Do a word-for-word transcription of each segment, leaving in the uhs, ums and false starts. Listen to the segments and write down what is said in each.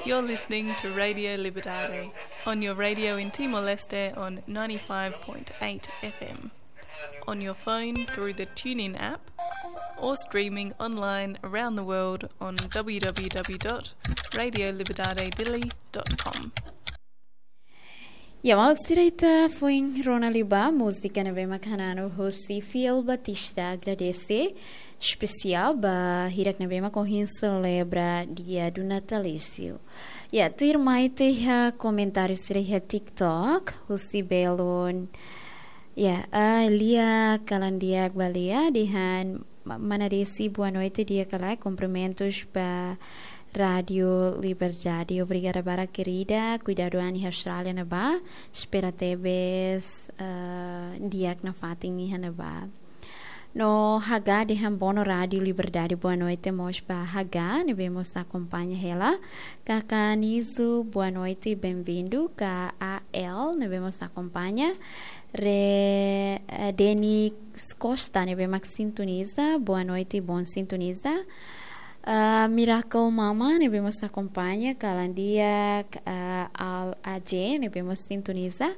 You're listening to Radio Liberdade on your radio in Timor-Leste on ninety-five point eight F M, on your phone through the TuneIn app, or streaming online around the world on w w w dot radio liberdade dili dot com. Ya, maluk sira, ita foin rona liu ba múzika ne'ebé mak hananu husi Fiel Batista, Agradece, espesiál ba hirak ne'ebé mak ohin selebra dia do natalício. Ya, tuirmai ita iha komentáriu sira iha TikTok, husi belun. Ya, ah, lia kalan di'ak ba lia, dehan ma-, mana Desi, boa noite, di'ak ka lae, cumprimentos ba Rádio Liberdade. Obrigada barak, querida. Kuidadu an iha Austrália ne'ebá. Espera tebes, eh, di'ak nafatin iha ne'ebá. No Haga dehan bono Rádio Liberdade, boa noite mós ba Haga, ne'ebé mós akompaña hela. Kaka Nizu, boa noite, bem-vindo. K A L, ne'ebé mós akompaña. Re, eh, Denis Costa, ne'ebé mak sintoniza, boa noite, bom sintonizar. Ah, Miracle Mama, ne'ebé mós akompaña, kalan di'ak, ah, Al A J, ne'ebé mós sintoniza.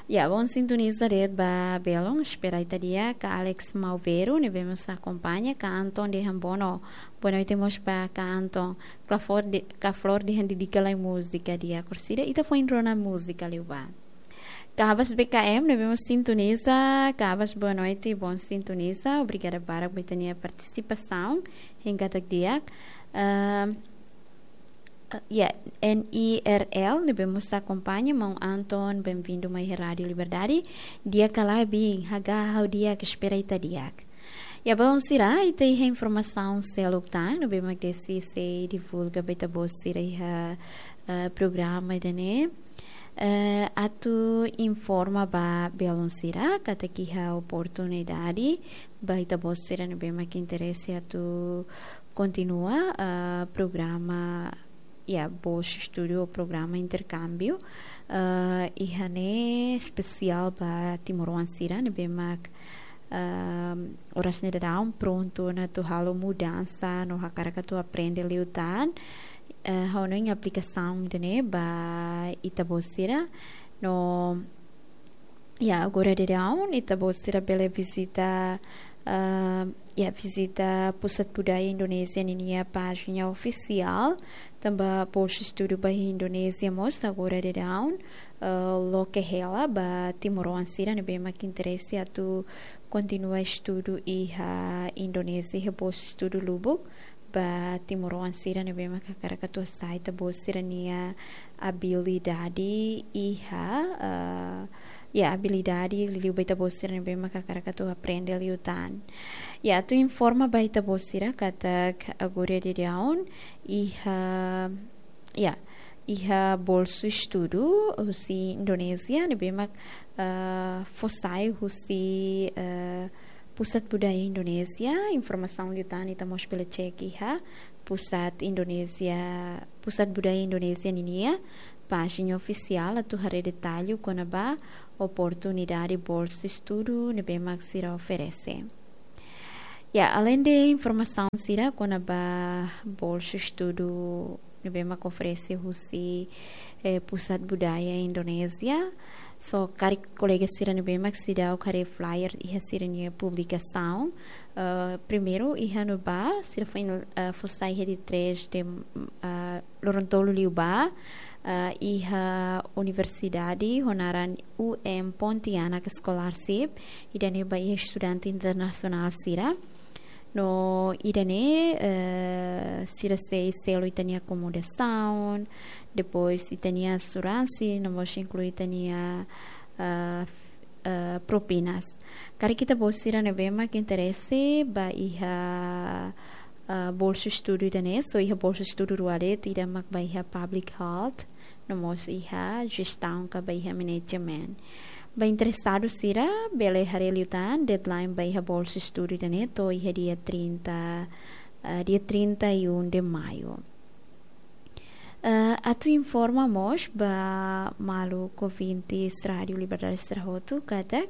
Ya, bom sintoniza de'it ba belun, espera ita di'ak, ka Alex Malvero, ne'ebé mós akompaña, ka Anton dehan bono, boa noite mós ba ka Anton, ka Flor de, ka Flor dehan dedika lai múzika di'ak, orsida, ita foin rona múzika liu ba. Kabas B K M, ne'ebé mós sintoniza, Kabas, boa noite, bom sintonizar, obrigada barak ba ita-nia partisipasaun, hein katak di'ak. Ehm, eh, ya, N I R L, ne'ebé mós akompaña, maun Anton, bem-vindo mai Rádio Liberdade, di'ak ka lae, bin, Haga, ha'u di'ak, espera ita di'ak. Ya, belun sira, ita iha informasaun seluk tan, ne'ebé mak Desi sei divulga ba ita-boot sira iha, eh, programa ida-ne'e. Eh, atu informa ba belun sira, katak iha oportunidade, ba ita-boot sira ne'ebé mak interese atu kontinua, eh, programa, ya, bolsa estudu, programa interkámbiu, eh, iha ne'e espesiál ba timoroan sira ne'ebé mak, ehm, oras ne'e daudaun prontu ona atu halo mudansa no hakarak atu aprende liután, eh, ha'u hanoin aplikasaun ida-ne'e ba ita-boot sira no, ya, agora daudaun ita-boot sira bele vizita, ah, ya, vizita Pusat Budaya Indonézia ninia pájina ofisiál, tanba bolsa estudu ba Indonézia mós agora daudaun, eh, loke hela ba timoroan sira ne'ebé mak interese atu kontinua estudu iha Indonézia, iha bolsa estudu lubuk, ba timoroan sira ne'ebé mak hakarak atu hasa'e ita-boot sira-nia abilidade iha, eh, ya, abilidade liuliu ba ita-boot sira ne'ebé mak hakarak atu aprende liután. Ya, atu informa ba ita-boot sira katak agora daudaun iha, ya, iha bolsa estudu husi Indonézia ne'ebé mak, eh, fó sai husi, eh, Pusat Budaya Indonézia, informasaun liután ita mós bele cek iha Pusat Indonézia, Pusat Budaya Indonézia ninia pájina ofisiál atu haree detallu kona-ba oportunidade bolsa estudu ne'ebé mak sira oferese. Ya, aleinde informasaun sira kona-ba bolsa estudu ne'ebé mak oferese husi, eh, Pusat Budaya Indonézia. So, karik kolega sira ne'ebé mak seidauk haree flyer iha sira-nia publikasaun. Eh, primeiru, iha ne'ebá, sira foin, eh, fó sai iha dia três de, eh, loron tolu liubá, eh, iha universidade ho naran U M Pontianak Scholarship, ida-ne'e ba iha estudante internasionál sira. No ida-ne'e, eh, sira sei selu ita-nia akomodasaun, depois ita-nia asuransi, no mós inklui ita-nia, eh, f-, eh, propinas. Karik ita-boot sira ne'ebé mak interese ba iha, eh, bolsa estudu ida-ne'e, so iha bolsa estudu rua de'it, ida mak ba iha public health, no mós iha jestaun ka ba iha management. Ba interesadu sira, bele haree liután, deadline ba iha bolsa estudu ida-ne'e to'o iha dia trinta, eh, dia trinta e um de maio. Eh, atu informa mós ba maluk ouvintes Rádio Liberdade sira hotu katak,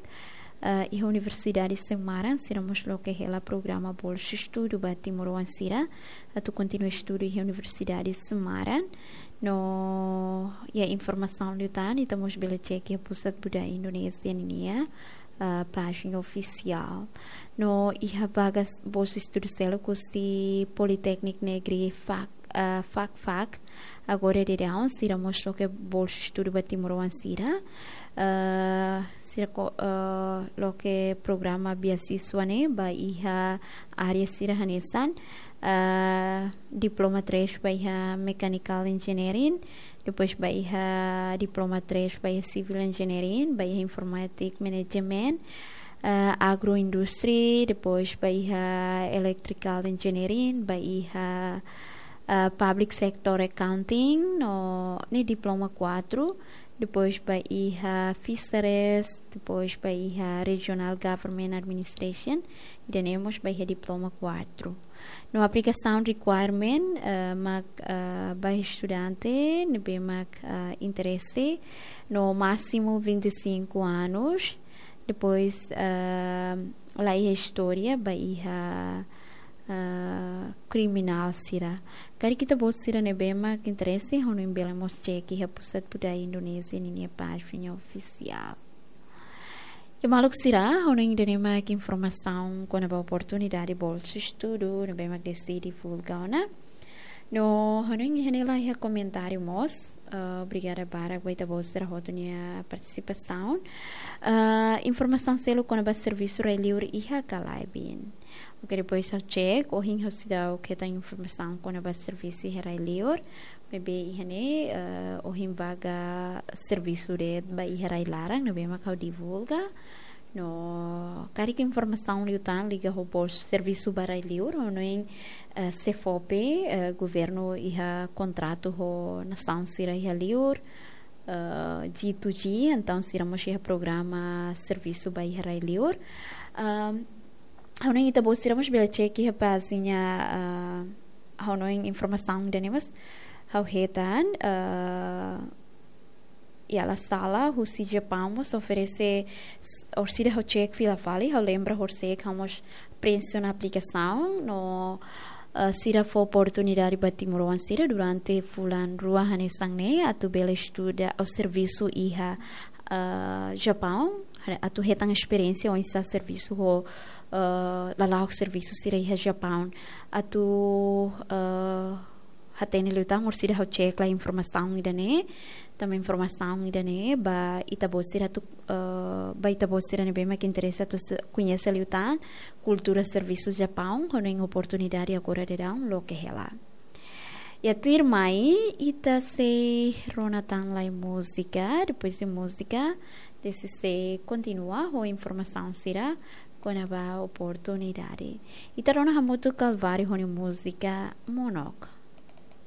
eh, iha universidade sira-nia maran, sira mós loke hela programa bolsa estudu ba timoroan sira atu kontinua estudu iha universidade sira-nia maran. No iha informasaun liután, ita mós bele cek iha Pusat Budaya Indonesia ninia, eh, pájina ofisiál. No iha vagas bolsa estudu seluk husi Politeknik Negeri Fak, eh, Fakfak, agora daudaun sira mós loke bolsa estudu ba timoroan sira. Eh, sira ko, eh, loke programa beasiswa ne'e ba iha área sira hanesan, eh, diploma três ba iha Mechanical Engineering, depois ba iha diploma três ba iha Civil Engineering, ba iha Informatic Management, eh, Agroindustry, depois ba iha Electrical Engineering, ba iha, eh, Public Sector Accounting, no ne'e diploma quatro, depois ba iha Fisheries, depois ba iha Regional Government Administration, ida-ne'e mós ba iha diploma quatro. No aplikasaun requirement, eh, mak, eh, ba estudante ne'ebé mak, eh, interese, no másimu vinte e cinco anos, depois, eh, la iha istória ba iha, eh, kriminál sira. Karik ita-boot sira ne'ebé mak interese, ha'u hanoin bele mós cek iha Pusat Budaya Indonesia ninia pájina ofisiál. Iha maluk sira, ha'u hanoin ida-ne'e mak informasaun kona-ba oportunidade bolsa estudu ne'ebé mak deside divulga ona. No ha'u hanoin iha ne'e la iha komentáriu mós. Eh, obrigada barak ba ita-boot sira hotu nia partisipasaun. Eh, informasaun seluk kona-ba servisu rai-liur iha ka lae, biin? Oke, depois ha'u cek, ohin ha'u seidauk hetan informasaun kona-ba servisu iha rai-liur. Maibé iha ne'e, eh, ohin vaga servisu de'it ba iha rai-laran ne'ebé mak ha'u divulga. No karik informasaun liután liga ho bolsa servisu ba rai-liur, ha'u hanoin, eh, SEFOPE, eh, governu iha kontratu ho nasaun sira iha liur, eh, G to G, entaun sira mós iha programa servisu ba iha rai-liur. Ahm, ha'u hanoin ita-boot sira mós bele cek iha pájina, ah, ha'u hanoin informasaun ida-ne'e mós ha'u hetan, ah, iha La Salle, husi Japaun mós oferese, s-, orsida ha'u cek fila fali, ha'u lembra horisehik ha'u mós preenxe ona aplikasaun, no, eh, sira fó oportunidade ba timoroan sira durante fulan rua hanesan ne'e, atu bele estuda ou servisu iha, eh, Japaun, atu hetan esperiénsia oinsá servisu ho, eh, lala'ok servisu sira iha Japaun. Atu, eh, hatene liután, orsida ha'u cek la informasaun ida-ne'e, tanba informasaun ida-ne'e ba ita-boot sira atu, eh, ba ita-boot sira ne'ebé mak interese atu se-, koñese liután kultura servisu Japaun, ha'u hanoin oportunidade agora daudaun loke hela. Iha tuirmai, ita sei rona tan lai múzika, depois de múzika, ita sei kontinua ho informasaun sira kona-ba oportunidade. Ita rona hamutuk Calvário ho nia múzika Monok.